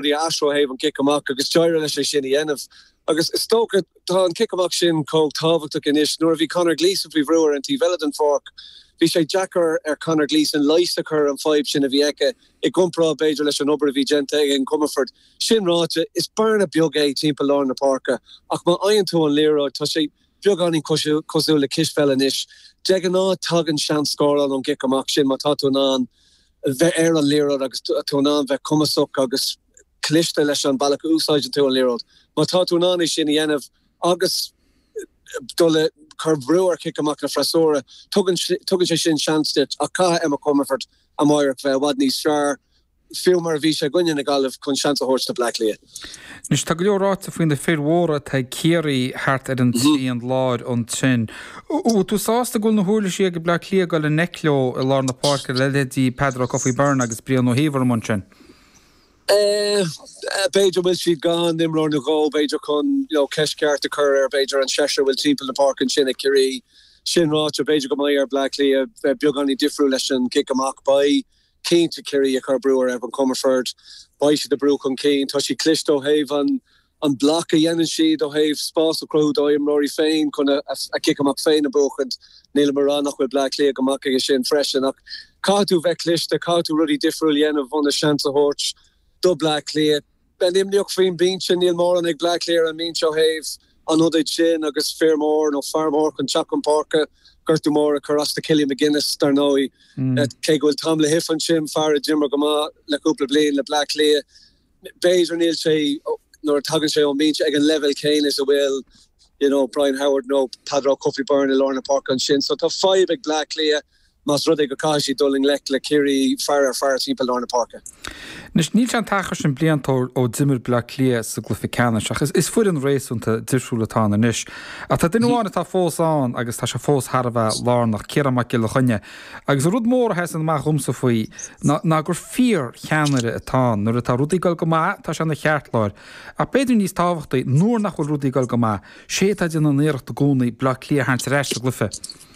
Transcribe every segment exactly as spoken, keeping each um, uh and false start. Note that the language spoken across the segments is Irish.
rudaí a athrú ó thaobh an cic amach agus d'éirigh leis é sin a dhéanamh. Agus is dócha tá an cic amach sin chomh tábhachtach anois nuair a bhí Conor Gleeson faoi bhrú ar an taobh eile den pháirc. Bhí sé deacair ar Conor Gleeson leigheas a chur ar an fadhb sin a bhí aige i gcomparáid b'fhéidir leis an obair a bhí déanta ag an Comerford. Sin ráite, is bearna beag é timpeall lár na páirce ach má fhaigheann tú an liathróid tá sé beagáinín cosúil le cispheil anois. De ghnáth tagann seans scóráil ón gcic amach sin má tá tú in ann bheith ar an liathróid agus tú in ann bheith cumasach agus cliste leis an bealach a úsáideann tú an liathróid. Má tá tú in ann é sin a dhéanamh agus dul ag cur brú ar chic amach na freasúra, tugann tugann sé sin seans duit ach caithfidh Emma Comerford amárach bheith i bhfad níos fearr, fiú mar a bhí sé i gcoinne na Gaillimhe chun seans a thabhairt do Bleá Cliath. Anois tá go leor ráite faoi na fir mhóra atá ag Ciarraí thart ar an trian láir ansin. Bhfuil tú sásta go bhfuil na huirlisí ag Bleá Cliath dul i ngleic leo i lár na páirce le leithéidí Peadar Ó Cofaigh Byrne agus Brian Ó hÍomhair amuigh ansin? B'fhéidir bhfuil siad gan imreoir nó dhó, b'fhéidir chun you know, ceist ceart a chur ar b'fhéidir an seisear a bhfuil timpeall na páirce ansin ag Ciarraí. Sin ráite, b'fhéidir go mbeidh ar Bleá Cliath bheith beagáinín difriúil leis an gcic amach. Beidh cinnte Ciarraí ag cur brú ar Evan Comerford, beidh siad ag brú chun cinn, tá siad cliste ó thaobh an an bloc a dhéanann siad ó thaobh spás a chruthú dá imreoirí féin chun a cic amach féin a bhuachaint. Nílim ag rá nach bhfuil Bleá Cliath go maith aige sin freisin ach caithfidh tú bheith cliste, caithfidh tú rudaí difriúil a dhéanamh ionas seans a thabhairt do Bleá Cliath. Bheith imníoch faoin mbinse, níl mórán ag Bleá Cliath ar an mbinse ó thaobh an ionaid sin agus fir mór nó fear mór chun teacht chun páirce, gortú mór a chuir as do Cillian McGuinness dar ndóigh. Cé go bhfuil Tom Lahiff ansin, fear a d'imir go maith le cúpla bliain le Bleá Cliath, b'fhéidir níl sé nuair a tagann sé ón mbinse ag an leibhéal céanna is a bhfuil you know, Brian Howard nó Peadar Ó Cofaigh Byrne i lár na páirce ansin. So tá fadhb ag Bleá Cliath más rud é go caithfidh siad dul i ngleic le Ciarraí fear ar fear timpeall lár na páirce. Anois níl sé an t-achar sin blianta ó d'imir Bleá Cliath sa gcluiche ceannais ach is foireann réasúnta difriúil atá ann anois. Ach tá duine amháin atá fós ann agus tá sé fós thar a bheith lárnach, Ciarán Mac Giolla Chainnigh. Agus an rud mór a sheasann amach dhomsa faoi ná ná gur fíor-cheannaire atá ann. Nuair atá rudaí ag dul go maith tá sé ina cheartlár. Ach b'fhéidir níos tábhachtaí, nuair nach bhfuil rudaí ag dul go maith, sé atá ag déanamh an iarracht i gcónaí Bleá Cliath a tharraingt ar ais sa gcluiche.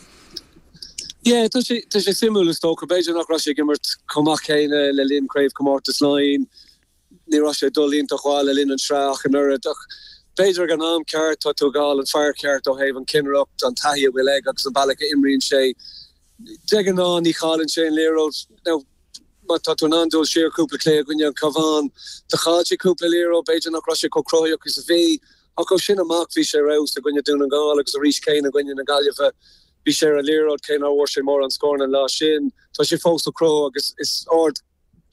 Yeah, tá sé tá sé suimiúil is dócha b'fhéidir nach raibh sé ag imirt chomh maith céanna le linn craobhchomórtas Laighean, ní raibh sé ag dul iontach mhaith le linn an tsraith ach an oiread ach b'fhéidir ag an am ceart tá tú ag fáil an fear ceart ó thaobh an chinnireacht, an taithí a bhfuil aige agus an bealach a imríonn sé. De ghnáth ní chailleann sé an liathróid. Now má tá tú in ann dul siar cúpla cluiche i gcoinne an Cabhán, do chaill sé cúpla liathróid, b'fhéidir nach raibh sé chomh cruthaíoch is a bhí ach ó sin amach bhí sé ar fheabhas i gcoinne Dún na nGall agus arís céanna i gcoinne na Gaillimhe. Bhí sé ar an liathróid cé nár bhfuair sé mórán scóranna an lá sin. Tá sé fós ag cruthú agus is ard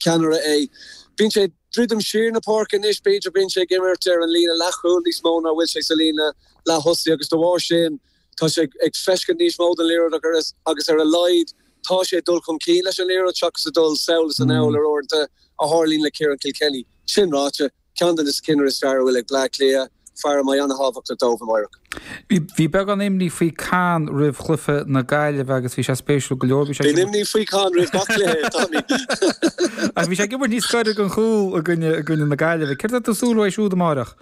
cheannaire é. Bíonn sé ag druidim siar na páirce anois, b'fhéidir bíonn sé ag imirt ar an líne leathchúil níos mó ná bhfuil sé sa líne leath-thosaigh agus de bharr sin tá sé ag feiscint níos mó den liathróid agus ar a laghad tá sé ag dul chun cinn leis an liathróid seachas ag dul sall is anall ar uaireanta a tharlaíonn le Ciarán Kilkenny. Sin ráite, ceann de na cinnirí is fearr a bhfuil ag Bleá Cliath, fear a mbeidh an-thábhachtach dóibh amárach. Bhí beagán imní faoi Con roimh chluiche na Gaillimhe agus bhí sé spéisiúil go leor. Bhí sé Bíonn imní faoi Con roimh gach cluiche, Tommy. Ach bhí sé ag imirt níos gaire don chúl i gcoinne i gcoinne na Gaillimhe. Céard atá tú ag súil uaidh siúd amárach?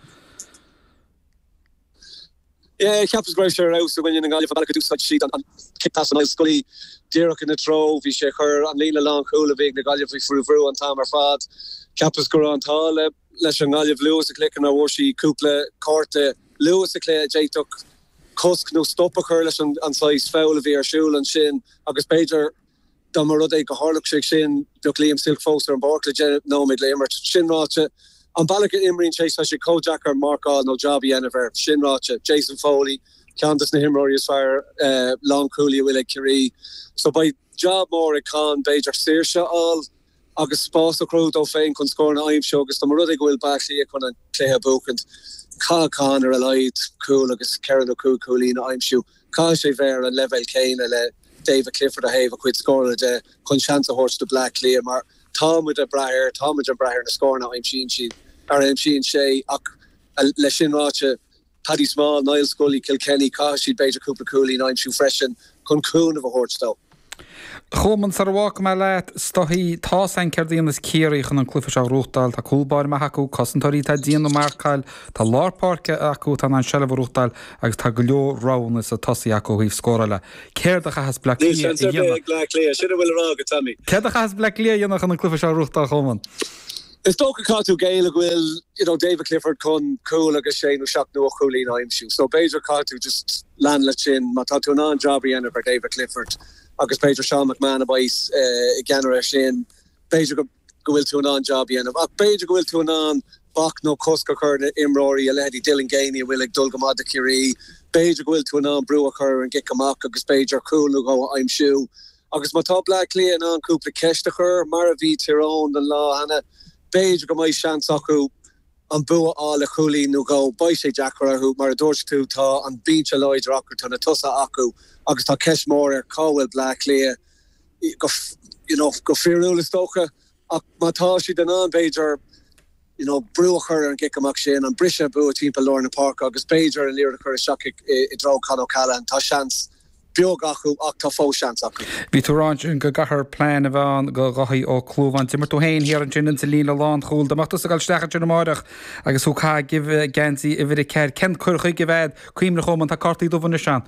Yeah, cheapas go raibh sé ar fheabhas i gcoinne na Gaillimhe, an bealach a d'úsáid siad an cic pas Niall Scully díreach ina treo. Bhí sé ag cur an líne lánchúil a bhí ag na Gaillimhe faoi bhrú an t-am ar fad. Cheapas go raibh an t-ádh le leis an nGaillimh luath sa chluiche nár bhfuair sí cúpla cárta luath sa chluiche a d'fhéadfadh cosc nó stop a chur leis an an saghas foul a bhí ar siúl ansin agus b'fhéidir dá mba rud é go tharlódh sé sin bheadh Liam Silke fós ar an bpáirc le deich nóiméad le imirt. Sin ráite, an bealach a imríonn sé tá sé chomh deacair marcáil nó job a dhéanamh air. Sin ráite, Jason Foley, ceann de na himreoirí is fearr lánchúlaí a bhfuil ag Ciarraí. So beidh job mór ag Con b'fhéidir saoirse a fháil agus spás a chruthú dó féin chun scóranna a aimsiú agus dá mba rud é go bhfuil Bleá Cliath chun an cluiche a bhuachaint, caithfidh Con ar a laghad cúl agus ceithre nó cúig chúilín a aimsiú. Caithfidh sé bheith ar an leibhéal céanna le David Clifford ó thaobh a chuid scórála de chun seans a thabhairt do Bleá Cliath mar tá muid ag brath air, tá muid ag brath ar na scóranna a aimsíonn siad, ar a aimsíonn sé ach leis sin ráite, Paddy Small, Niall Scully, Kilkenny, caithfidh siad b'fhéidir cúpla cúilín a aimsiú freisin chun cúnamh a thabhairt dó. Cholmáin, sara bhfágfaidh mé leat, is dóigh, tá's againn céard a dhéanfas Ciarraí chun an cluiche seo a ghnóthachtáil. Tá cúl báire maith acu, cosantóirí atá dian ag marcáil, tá lár páirce acu atá in ann seilbh a ghnóthachtáil agus tá go leor roghanna sa tosaí acu ó thaobh scórála. Céard a chaithfeas Bleá Níl Cliath seans a ar bith dhéanamh? ag Bleá Cliath, sin a bhfuil a rá agat, Tommy. Céard a chaithfeas Bleá Cliath a dhéanamh chun an cluiche seo a ghnóthachtáil, Cholmáin? Is dócha caithfidh tú géilleadh go bhfuil you know, David Clifford chun cúl agus sé nó seacht nó ocht gcúilín a aimsiú. So b'fhéidir caithfidh tú just lean leis sin má tá tú in ann job a dhéanamh ar David Clifford agus b'fhéidir Sean McMahon a bheas uh, i gceannaire sin b'fhéidir go go bhfuil tú in ann job a dhéanamh. Ach b'fhéidir go bhfuil tú in ann bac nó cosc a chur na imreoirí a leithéidí Dylan Geaney a bhfuil ag dul go maith do Chiarraí, B'fhéidir go bhfuil tú in ann brú a chur an gcic amach agus b'fhéidir cúl nó dhó a aimsiú. Agus má tá Bleá Cliath in ann cúpla ceist a chur mar a bhí Tír Eoghain an lá cheana, b'fhéidir go mbeidh seans acu an bua a fháil le cúilín nó dhó beidh sé deacair orthu mar a dúirt tú tá an binse láidir acu tá na tosaithe acu agus tá ceist mór ar cá bhfuil Bleá Cliath go you know, go fíorúil is dócha ach má tá siad in ann b'fhéidir you know, brú a chur ar an gcic amach sin an briseadh bua timpeall lár na páirce agus b'fhéidir an liathróid a chur isteach i dtreo Con O'Callaghan tá seans beag acu ach tá fós seans acu. Bhí tú ansin go gcaithfear plean a bheith ann do Dhaithí Ó Clúmháin. D'imir tú féin thiar ansin insa líne lánchúil, dá mbeadh tusa ag dul isteach ansin amárach agus thú ag caitheamh geansaí uimhir a ceathair. Cén cur chuige a bheadh cuimhnigh chomh tá cártaí dubha anois ann.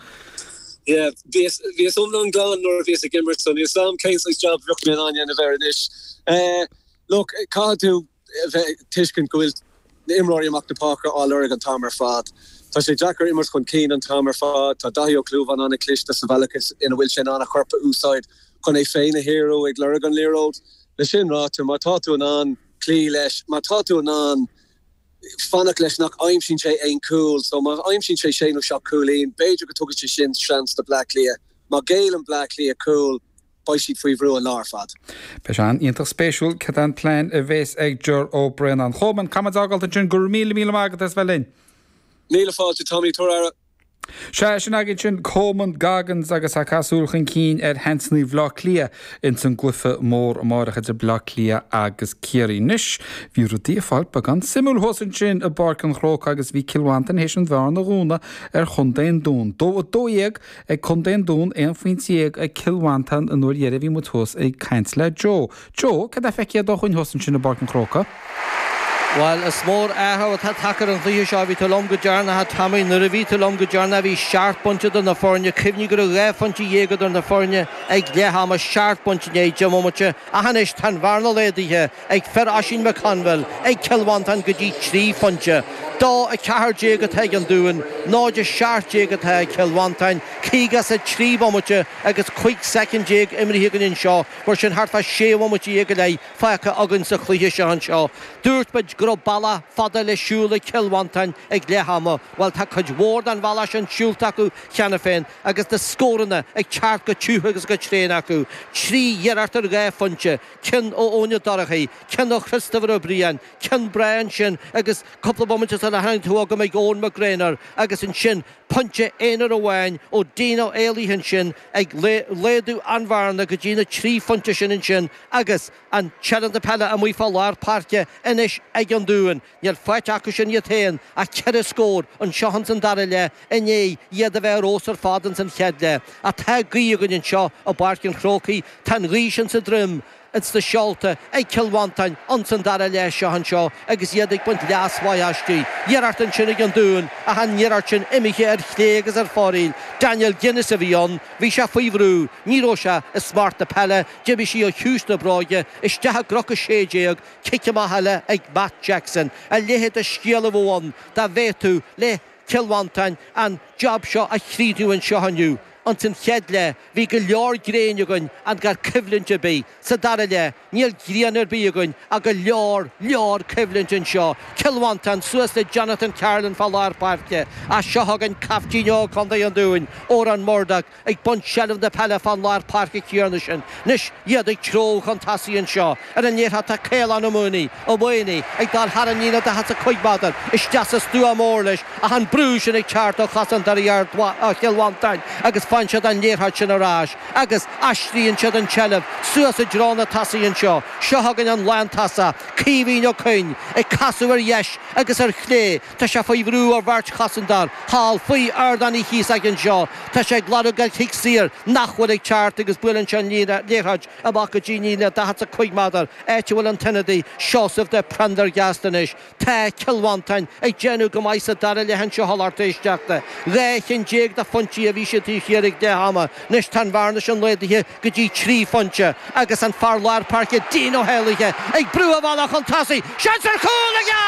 Yeah, bhíos bhíos iomlán glan nuair a bhíos ag imirt so níl a fhios agam cén saghas job bheadh mé in ann dhéanamh air anois. Eh, look, caithfidh tú bheith tuiscint go bhfuil na imreoirí amach na páirce á lorg an t-am ar fad. Tá sé deacair imirt chun cinn an t-am ar fad, tá Daithí Ó Clúmháin an-chliste sa bhealach ina bhfuil sé in ann a chorp a úsáid chun é féin a shaoradh ag lorg an liathróid. Le sin ráite má tá tú in ann cloí leis, má tá tú in ann fanacht leis nach aimsíonn sé aon cúl, so má aimsíonn sé sé nó seacht cúilín, b'fhéidir go dtugann sé sin seans do Bleá Cliath. Má ghéilleann Bleá Cliath cúl, beidh siad faoi bhrú an lá ar fad. Beidh sé iontach spéisiúil cad é an plean a bheas ag Ger Ó Braonáin. Choman caithfimid fágáil ansin go raibh míle míle maith agat as bheith linn. Míle fáilte Tommy tuair Sé sin againn sin Coman Goggins agus a casúil chun cinn ar sheansanna Bhleá Cliath ins an gcluiche mór amárach idir Bleá Cliath agus Ciarraí. Anois bhí rudaí ag fáil beagán suimiúil thuas ansin i bPáirc an Chrócaigh agus bhí Cill Mhantáin théis an bhearna a dhúnadh ar Chontae an Dúin. Dó a dó dhéag ag Contae an Dúin aon phointe déag ag Cill Mhantáin an uair dheiridh bhí muid thuas ag caint le Joe. Joe, cad é feicthe agat dúinn thuas ansin i bPáirc an Chrócaigh? Well is mór athrú atá tagtha ar an chluiche seo bhí tú liom go deireanach Tommy nuair a bhí tú liom go deireanach bhí seacht bpointe idir na foirne cuimhnigh go raibh dhá phointe dhéag idir na foirne ag leath ama seacht bpointe i ndiaidh deich mbomaite ach anois tá an bhearna laghdaithe ag fir Oisín McConville ag Cill Mhantáin go dtí trí phointe. Dó a ceathair déag atá ag an Dún, náid a seacht déag atá ag Cill Mhantáin, caoga is a trí bomaite agus cúig soicind déag imeartha againn anseo, mar sin thart fá sé bhomaite go leith fágtha againn sa chluiche seo anseo. Dúirt muid go raibh bealach fada le siúl ag Cill Mhantáin ag leath ama, Well tá cuid mhór den bhealach sin siúlta acu cheana féin agus na scóranna ag teacht go tiubh agus go tréan acu. Trí iarracht ar dhá phointe, ceann ó Eoin Ó Dorchaí, ceann ó Christopher Ó Briain, ceann breá ansin agus cúpla bomaite sula tháinig tú agam ag Eoin McGraynor agus ansin pointe aonair amháin ó Dean Ó Éalaithe ansin ag laghdú an bhearna go dtí na trí phointe sin ansin agus an tseilbh peile amuigh fá lár páirce anois ag an Dún. Níl faighte acu sin iad féin ach ceithre scór anseo san dara leath inné iad a bheith ar fheabhas ar fad an san chéad leath. Ach tá gaoth againn anseo i bPáirc an Chrócaigh, tá an ghaoth sin sa droim ins na seolta ag Cill Mhantáin an san dara leath seo anseo agus iad ag baint leas mhaith aisti. Iarracht ansin ag an Dún ach an iarracht sin imithe ar chlé agus ar fóraoil. Daniel Guinness a bhí ann, bhí sé faoi bhrú, ní raibh sé i smacht na peile, d'imigh sí ó chiumhais na bróige, isteach i gcroca sé déag, cic amach eile ag Matt Jackson. A leithéid de scéal a bheadh ann dá bhféadfadh le Cill Mhantáin an job seo a chríochnú anseo inniu. An san chéad leath bhí go leor gréine againn an gar coimhlint ar bith sa dara leath níl grian ar bith againn ach go leor leor coimhlint anseo. Cill Mhantáin suas le Jonathan Carlin fá lár páirce as seo againn caiftín óg Chontae an Dúin Odhrán Murdoch ag baint seilbh na peile fán lár páirce céanna sin. Anois iad ag treabhadh chun tosaigh anseo ar an liathróid tá Caolán Ó Maonaigh Ó Maonaigh ag dul thar an líne daichead is a cúig méadar isteach sa stua mór leis ach an brú sin ag teacht ó chosantóirí Chill Mhantáin agus faigheann siad an liathróid sin ar ais agus aistríonn siad an tseilbh suas i dtreo na tosaithe anseo. Seo againn an lántosach Caoimhín Ó Coinn ag casadh ar dheis agus ar chlé Tá sé faoi bhrú ar bheirt chosantóir thall faoi Ardán Uí Chíosóg anseo Tá sé ag lorg an chic saor nach bhfuil ag teacht agus buaileann sé an liathróid amach go dtí líne daichead is a cúig méadar áit a bhfuil an t-ionadaí Seosamh de Prendergast anois. Tá Cill Mhantáin ag déanamh go maith sa dara leath anseo a lucht éisteachta. Dhá cheann déag de phointí a bhí siad taobh thiar air ag leath ama. Anois tá an bhearna sin laghdaithe go dtí trí phointe agus an fear lár páirce Dean Ó hÉalaithe ag brú a bhealach chun tosaigh. Seans ar chúl aige!